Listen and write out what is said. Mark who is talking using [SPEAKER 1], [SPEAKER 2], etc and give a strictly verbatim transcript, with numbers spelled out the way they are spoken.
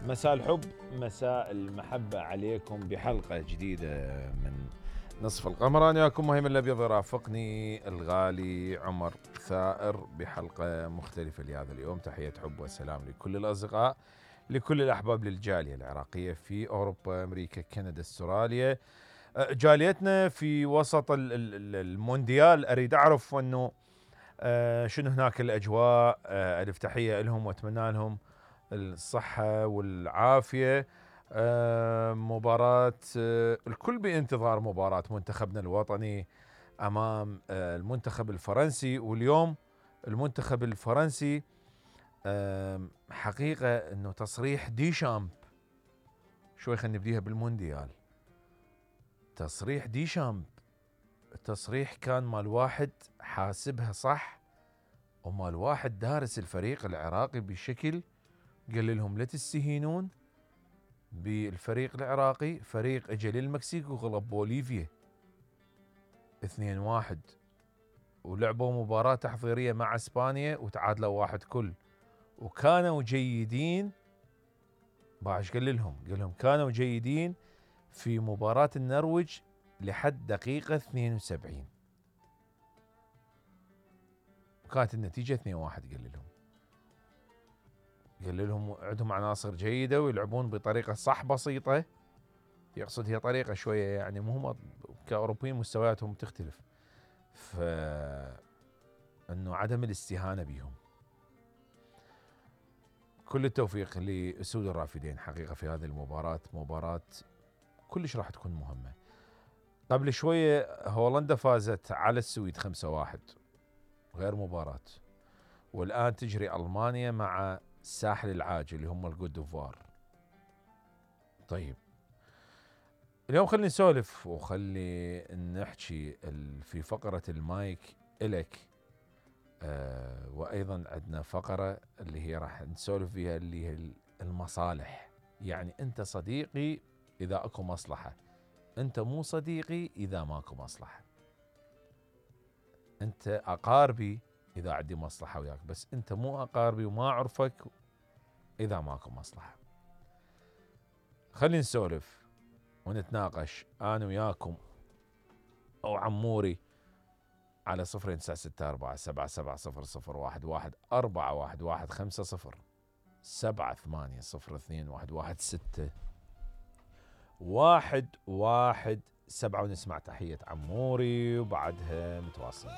[SPEAKER 1] مساء الحب، مساء المحبة عليكم بحلقة جديدة من نصف القمر. أنا وياكم مهيمن الأبيض، يرافقني الغالي عمر ثائر بحلقة مختلفة لهذا اليوم. تحية حب وسلام لكل الأصدقاء، لكل الأحباب للجالية العراقية في أوروبا، أمريكا، كندا، استراليا، جاليتنا في وسط المونديال. أريد أعرف أنه شنو هناك الأجواء. ألف تحية لهم وأتمنى لهم الصحة والعافية. مباراة الكل بانتظار مباراة منتخبنا الوطني أمام المنتخب الفرنسي، واليوم المنتخب الفرنسي حقيقة أنه تصريح ديشامب، شوي خلينا نبديها بالمونديال. تصريح ديشامب، التصريح كان مال واحد حاسبها صح، ومال واحد دارس الفريق العراقي بشكل قال لهم لا تستهينون بالفريق العراقي. فريق اجى للمكسيك وغلب بوليفيا اثنين واحد، ولعبوا مباراة تحضيرية مع اسبانيا وتعادلوا واحد كل، وكانوا جيدين. باش قال لهم قال لهم كانوا جيدين في مباراة النرويج لحد دقيقة اثنين وسبعين، وكانت النتيجة اثنين واحد. قال لهم قال لهم عندهم عناصر جيدة ويلعبون بطريقة صح بسيطة، يقصد هي طريقة شوية يعني مو كأوروبيين مستوياتهم تختلف، فإنه عدم الاستهانة بهم. كل التوفيق لأسود الرافدين حقيقة في هذه المباراة، مباراة كلش راح تكون مهمة. قبل شوية هولندا فازت على السويد خمسة واحد غير مباراة، والآن تجري ألمانيا مع الساحل العاج اللي هم الكوت ديفوار. طيب اليوم خلينا نسولف وخلي نحكي في فقرة المايك إلك، آه وأيضا عندنا فقرة اللي هي راح نسولف فيها اللي هي المصالح. يعني أنت صديقي إذا أكو مصلحة، أنت مو صديقي إذا ماكو مصلحة. أنت أقاربي إذا عندي مصلحة وياك، بس أنت مو أقاربي وما أعرفك إذا ماكو مصلحة. خلينا نسولف ونتناقش أنا وياكم أو عموري على صفرين تسعة ستة أربعة سبعة سبعة صفر صفر واحد واحد أربعة واحد واحد خمسة صفر سبعة ثمانية صفر اثنين واحد واحد ستة واحد واحد سبعة، ونسمع تحية عموري وبعدها متواصلين.